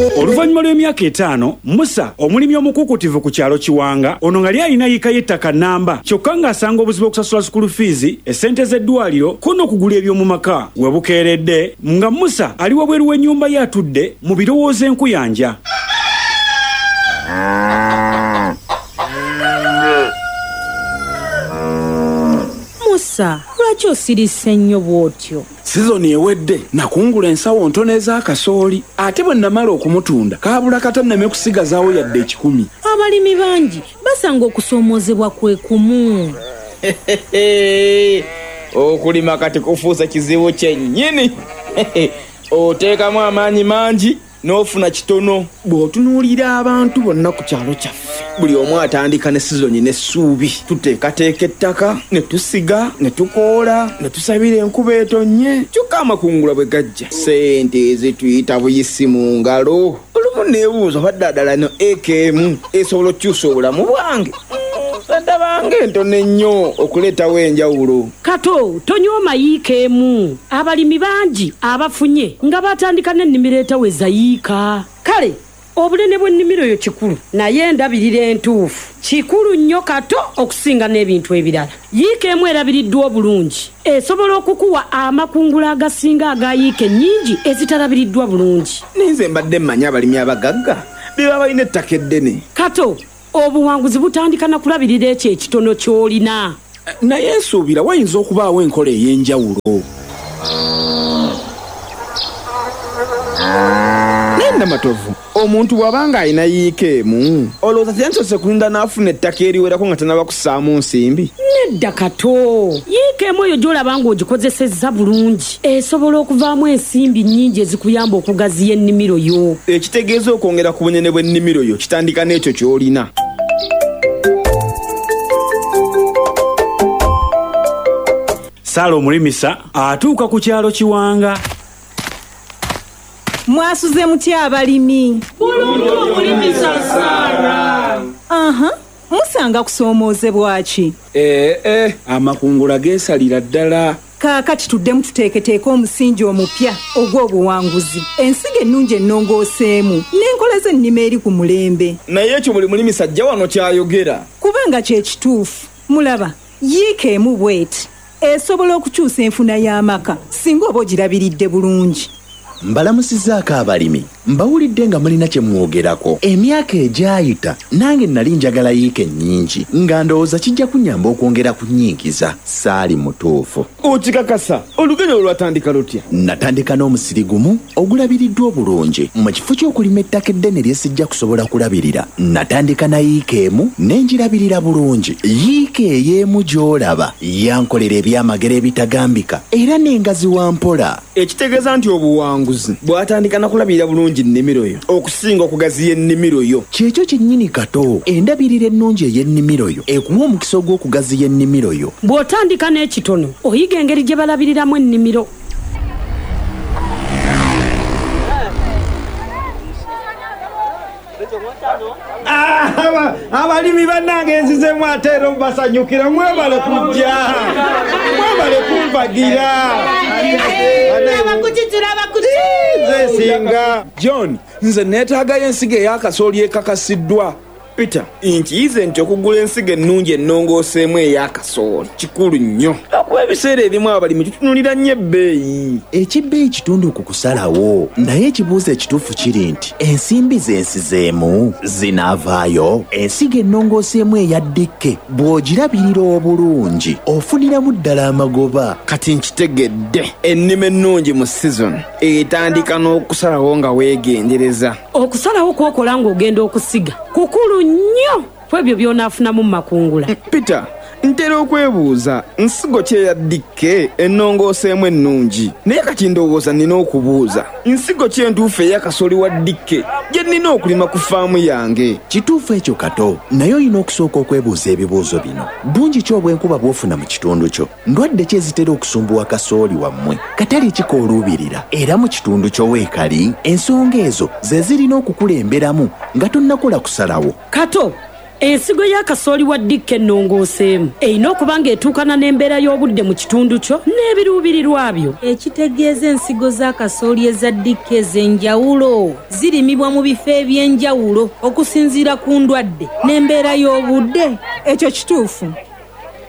Oluvannyuma lw'emyaka 5, Musa, omulimi omukuukutivu ku kyalo Kiwanga, ono nga lyalina yiika y'ettaka nnamba, kyokka ng'asanga obuzibu okusasula sukulu fiizi, essente z'eddwaliro, ko n'okugula eby'omu maka. We bukeeredde, nga Musa ali wabweru w'ennyumba ye atudde mu birowoozo enkuyanja. Musa, lwaki osirise nnyo bw'otyo? Sizoni ewedde nakungula ensawo ntono ez'akasooli, ate bwe namala okumutunda kaabula kata nneme kusigazaawo yadde 100. Abalimi bangi basanga okusoomoozebwa kwe kumu. Okulima kati kufuuse kizibu kyennyini. Oteekamu amaanyi mangi n'ofuna kitono. Bw'otunuulira abantu bonna ku kyalo kyaffe, buli omu atandika ne sizoni n'essuubi. Tuteekateeka ettaka, ne tusiga, ne tukoola, ne tusabira enkuba etonnye. Kyokka amakungula bwe gajja, ssente ezituyita buyisi mu ngalo. Olumu neebuuza oba ddala eno eka emu esobola okukyusa obulamu bwange. Ndabanga entono ennyo okuleetawo enjawulo. Kato, tonyooma yiika emu. Abalimi bangi abafunye nga baatandika n'ennimiro etaweza yiika. Kale obunene bw'ennimiro yo kikulu, naye endabirira entuufu kikulu nnyo Kato okusinga n'ebintu ebirala. Yiika emu erabiriddwa obulungi esobola okukuwa amakungula agasinga aga yiika ennyingi ezitalabiriddwa bulungi. Ninze mbadde mmanyi abalimi abagagga be baba balina ettaka eddene. Kato, obuwanguzi butandika na kulabirira ekyo ekitono ky'olina. Naye nsuubira wayinza okubaawo enkola ey'enjawulo. Naye Namatovu, omuntu bw'aba ng'alina yiika emu, olowooza teyandisoose kulinda n'afuna ettaka eriwerako nga tannaba kussaamu nsimbi? Nedda Kato, yiika emu eyo gy'olaba ng'ogikozesezza bulungi esobola okuvaamu ensimbi nnyingi ezikuyamba okugaziya ennimiro yo. Ekitegeeza okwongera ku bunene bw'ennimiro yo kitandika n'ekyo ky'olina. Saala omulimisa atuuka ku kyalo Kiwanga. Mwasuze mutya abalimi? Bulungi omulimisa Saala. Aha, musanga kusoomoozebwa ki? Eeh, amakungula geesalira ddala. Kaakati tuddemu tuteeketeeke omusingi omupya ogw'obuwanguzi, ensigo ennungi ennongooseemu n'enkola z'ennima eri ku mulembe. Naye ekyo buli mulimisa ajja wano ky'ayogera. Kubanga kye kituufu. Mulaba, yiika emu bw'eti esobola okukyusa enfuna y'amaka singa oba ogirabiridde bulungi. Mbalamusizzaako abalimi. Mbawulidde nga mulina kye mwogerako. Emyaka egyayita nange nali njagala yiika ennyingi nga ndowooza kijja kunnyamba okwongera ku nnyingiza. Saali mutuufu. Okikakasa? Olugendo olwo lwatandika lutya? Natandika n'omusiri gumu ogulabiriddwa obulungi. Mu kifo ky'okulima ettaka eddene lye sijja kusobola kulabirira, natandika na yiika emu ne ngirabirira bulungi. Yiika ey'emu gy'olaba yankolera ebyamagero ebitagambika era n'engaziwa mpola. Ekitegeeza nti obuwanguzi bwatandika na kulabirira bulungi nnimiro yo okusinga okugaziya ennimiro yo. Kyekyo kyennyini Kato, endabirira ennungi ey'ennimiro yo ekuwa omukisa ogw'okugaziya ennimiro yo. Bw'otandika n'ekitono, oyiga engeri gye balabiriramu ennimiro. Abalimi bannange nzizemu ate era mbasanyukira, mwebale kujja, mwebale kumpagira. Nze nsinga. John, nze neetaagayo ensigo ey'akasooli ekakasiddwa. Peter, nkiyize nti okugula ensigo ennungi ennongooseemu ey'akasooli kikulu nnyo. Lwakuba ebiseera ebimu abalimi tutunuulira nnyo ebbeeyi. Eky'ebbeeyi kitundu ku kusalawo, naye ekibuuzo ekituufu kiri nti ensimbi ze nsizeemu zinaavaayo? Ensigo ennongooseemu eya DK bw'ogirabirira obulungi ofuniramu ddala amagoba. Kati nkitegedde, ennima ennungi mu sizoni etandika n'okusalawo nga weegendereza. Okusalawo kw'okola ng'ogenda okusiga kukulu nnyo ku ebyo by'onaafunamu mu makungula. Peter, ntera okwebuuza nsigo ki eya DK ennongooseemu ennungi. Naye kati ndowooza nnina okubuuza, nsigo ki entuufu eya kasooli wa DK gye nnina okulima ku faamu yange? Kituufu ekyo Kato, naye olina okusooka okwebuuza ebibuuzo bino. Bungi ki obw'enkuba bw'ofuna mu kitundu kyo? Ndwadde ki ezitera okusumbuwa kasooli wammwe? Katale ki k'oluubirira? Era mu kitundu kyo weekali? Ensonga ezo ze zirina okukulemberamu nga tonnakola kusalawo. Kato, Ensigo y'akasooli wa dikka ennongooseemu erina okuba ng'etuukana n'embeera y'obudde mu kitundu kyo n'ebiruubirirwa byo. Ekitegeeza ensigo z'akasooli eza dikka ez'enjawulo zirimibwa mu bifo eby'enjawulo okusinziira ku ndwadde n'embeera y'obudde. Ekyo kituufu.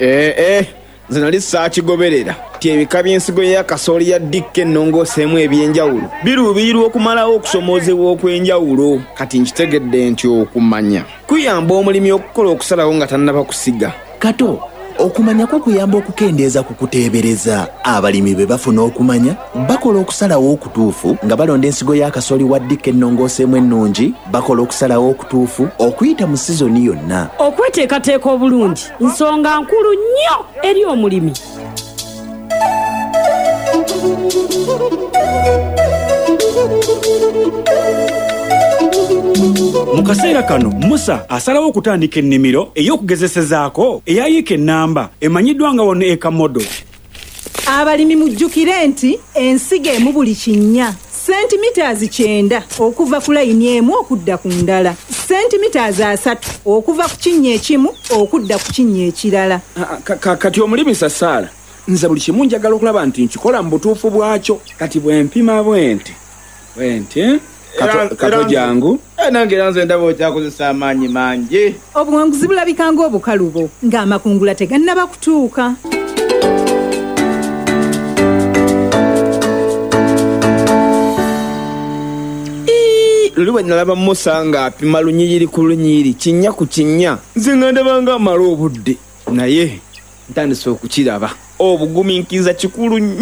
Ee, nze nali saakigoberera nti ebika by'ensigo y'akasooli ya dikka ennongooseemu eby'enjawulo biruubirirwa okumalawo okusoomoozebwa okw'enjawulo. Kati nkitegedde nti okumanya kuyamba omulimi okukola okusalawo nga tannaba kusiga. Kato, okumanya kukuyamba okukendeeza ku kuteebereza. Abalimi bwe bafuna okumanya, bakola okusalawo okutuufu nga balonda ensigo y'akasooli wa dikka ennongooseemu ennungi, bakola okusalawo okutuufu okuyita mu sizoni yonna. Okweteekateeka obulungi nsonga nkulu nnyo eri omulimi. Mu kaseera kano Musa asalawo okutandika ennimiro ey'okugezesezaako eya yiika ennamba emanyiddwa nga wano ekamodo. Abalimi mujjukire nti ensigo emu buli kinnya sentimitaazi 90 okuva ku layini emu okudda ku ndala, sentimitaazi 30 okuva ku kinnya ekimu okudda ku kinnya ekirala. Kati omulimisa Saala, nze buli kimu njagala okulaba nti nkikola mu butuufu bwakyo. Kati bwe mpima bwe nti Kato jangu. Nange era nze ndaba okyakozesa amaanyi mangi. Obuwanguzi bulabika ng'obukalubo ng'amakungula tegannaba kutuuka. Luli bwe nalaba Musa ng'apima lunyiriri ku lunyiriri, kinnya ku kinnya, nze nga ndaba ng'amala obudde. Naye ntandise okukiraba, obugumiikiriza kikulu nnyo.